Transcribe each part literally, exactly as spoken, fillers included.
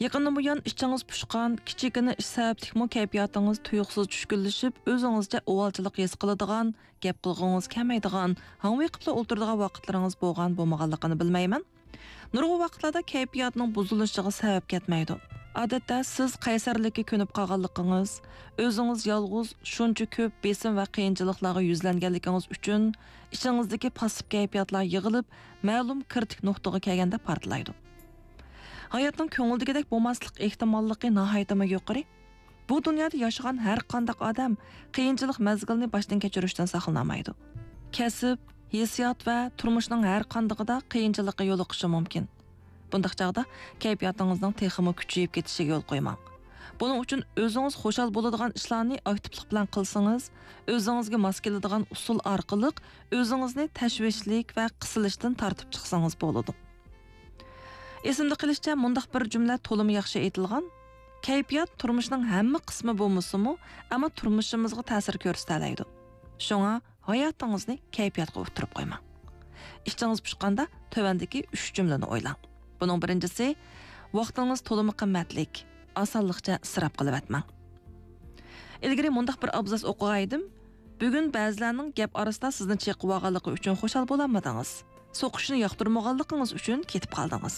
يېقىندىن بۇيان ئىچىڭىز پۇشقان، كىچىككىنە ئىش سەۋەبلىكمۇ كەيپىياتىڭىز تۇيۇقسىز چۈشكۈنلىشىپ، ئۆزىڭىزچە ئۇۋالچىلىق ھېس قىلىدىغان، گەپ قىلغۇڭىز كەلمەيدىغان، ھاڭۋېقىپلا ئولتۇرىدىغان ۋاقىتلىرىڭىز بولغان بولمىغانلىقىنى بىلمەيمەن. نۇرغۇن ۋاقىتلاردا كەيپىياتنىڭ بۇزۇلۇشىغا سەۋەب كەتمەيدۇ. ئادەتتە سىز قەيسەرلىككە كۆنۈپ قالغانلىقىڭىز، ئۆزىڭىز يالغۇز شۇنچە كۆپ بېسىم ۋە قىيىنچىلىقلارغا يۈزلەنگەنلىكىڭىز ئۈچۈن ئىچىڭىزدىكى پاسسىپ كەيپىياتلار يىغىلىپ، مەلۇم كىرىتىك نۇقتىغا كەلگەندە پارتلايدۇ. ھاياتنىڭ كۆڭۈلدىكىدەك بولماسلىق ئېھتىماللىقى ناھايىتىمۇ يۇقىرى. بۇ دۇنيادا ياشىغان ھەر قانداق ئادەم قىيىنچىلىق مەزگىلىنى باشتىن كەچۈرۈشتىن ساقلىنالمايدۇ. كەسىپ، ھېسسىيات ۋە تۇرمۇشنىڭ ھەر قاندىقىدا قىيىنچىلىققا يولۇقۇشى مۇمكىن. بۇنداق چاغدا كەيپىياتىڭىزنىڭ تېخىمۇ كۈچىيىپ كېتىشىگە يول قويماڭ. بۇنىڭ ئۈچۈن ئۆزىڭىز خۇشال بولىدىغان ئىشلارنى ئاكتىپلىق بىلەن قىلسىڭىز، ئۆزىڭىزگە ماس كېلىدىغان ئۇسۇل ئارقىلىق ئۆزىڭىزنى تەشۋىشلىك ۋە قىسىلىشتىن تارتىپ چىقسىڭىز بولىدۇ. ئېسىمدە قېلىشىچە، مۇنداق بىر جۈملە تولىمۇ ياخشى ئېيتىلغان: «كەيپىيات تۇرمۇشنىڭ ھەممە قىسمى بولمىسىمۇ، ئەمما تۇرمۇشىمىزغا تەسىر كۆرسىتەلەيدۇ. شۇڭا ھاياتىڭىزنى كەيپىياتقا ئۇتتۇرۇپ قويماڭ.» ئىچىڭىز پۇشقاندا تۆۋەندىكى ئۈچ جۈملىنى ئويلاڭ. بۇنىڭ بىرىنچىسى، ۋاقتىڭىز تولىمۇ قىممەتلىك، ئاسانلىقچە ئىسراپ قىلىۋەتمەڭ. ئىلگىرى مۇنداق بىر ئابزاس ئوقۇغانىدىم: «بۈگۈن بەزىلەرنىڭ گەپ ئارىسىدا سىزنى چېقىۋالغانلىقى ئۈچۈن خۇشال بولالمىدىڭىز. سوقۇشنى ياقتۇرمىغانلىقىڭىز ئۈچۈن كېتىپ قالدىڭىز.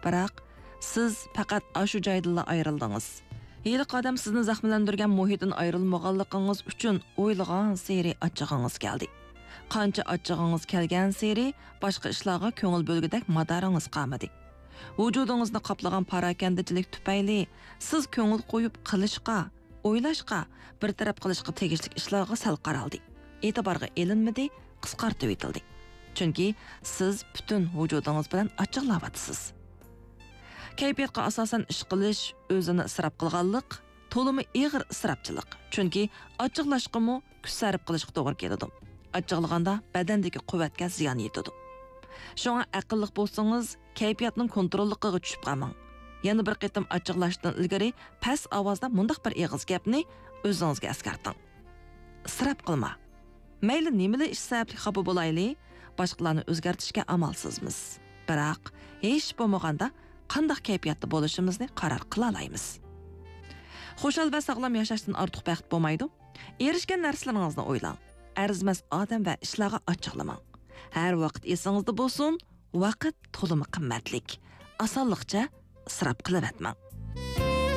بىراق، سىز پەقەت ئاشۇ جايدىنلا ئايرىلدىڭىز. ھېلىقى ئادەم سىزنى زەخىملەندۈرگەن مۇھىتتىن ئايرىلمىغانلىقىڭىز ئۈچۈن ئويلىغانسېرى ئاچچىقىڭىز كەلدى. قانچە ئاچچىقىڭىزكەلگەنسېرى باشقا ئىشلارغا كۆڭۈل بۆلگۈدەك مادارىڭىز قالمىدى. ۋۇجۇدىڭىزنى قاپلىغان پاراكەندىچىلىك تۈپەيلى سىز كۆڭۈل قويۇپ قىلىشقا، ئويلاشقا، بىر تەرەپ قىلىشقا تېگىشلىك ئىشلارغا سەل قارالدى. ئېتىبارغا ئېلىنمىدى، قىسقارتىۋېتىلدى. چۈنكى سىز پۈتۈن ۋۇجۇدىڭىز بىلەن ئاچچىقلاۋاتىسىز.» كەيپىياتقا ئاساسەن ئىش قىلىش، ئۆزىنى ئىسراپ قىلغانلىق، تولىمۇ ئېغىر ئىسراپچىلىق. چۈنكى ئاچچىقلاشقىمۇ كۈچ سەرپ قىلىشقا توغرا كېلىدۇ. ئاچچىقلىغاندا بەدەندىكى قۇۋۋەتكە زىيان يېتىدۇ. شۇڭا ئەقىللىق بولسىڭىز، كەيپىياتنىڭ كونتروللۇقىغا چۈشۈپ قالماڭ. يەنە بىر قېتىم ئاچچىقلاشتىن ئىلگىرى پەس ئاۋازدا مۇنداق بىر ئېغىز گەپنى ئۆزىڭىزگە ئەسكەرتىڭ: «ئىسراپ قىلما. مەيلى نېمىلا ئىش سەۋەبلىك خاپا بولايلى، باشقىلارنى ئۆزگەرتىشكە ئامالسىزمىز. بىراق، ھېچ بولمىغاندا قانداق كەيپىياتتا بولۇشىمىزنى قارار قىلالايمىز.» خۇشال ۋە ساغلام ياشاشتىن ئارتۇق بەخت بولمايدۇ. ئېرىشكەن نەرسىلىرىڭىزنى ئويلاڭ. ئەرزىمەس ئادەم ۋە ئىشلارغا ئاچچىقلىماڭ. ھەر ۋاقىت ئېسىڭىزدە بولسۇن، ۋاقىت تولىمۇ قىممەتلىك. ئاسانلىقچە ئىسراپ قىلىۋەتمەڭ.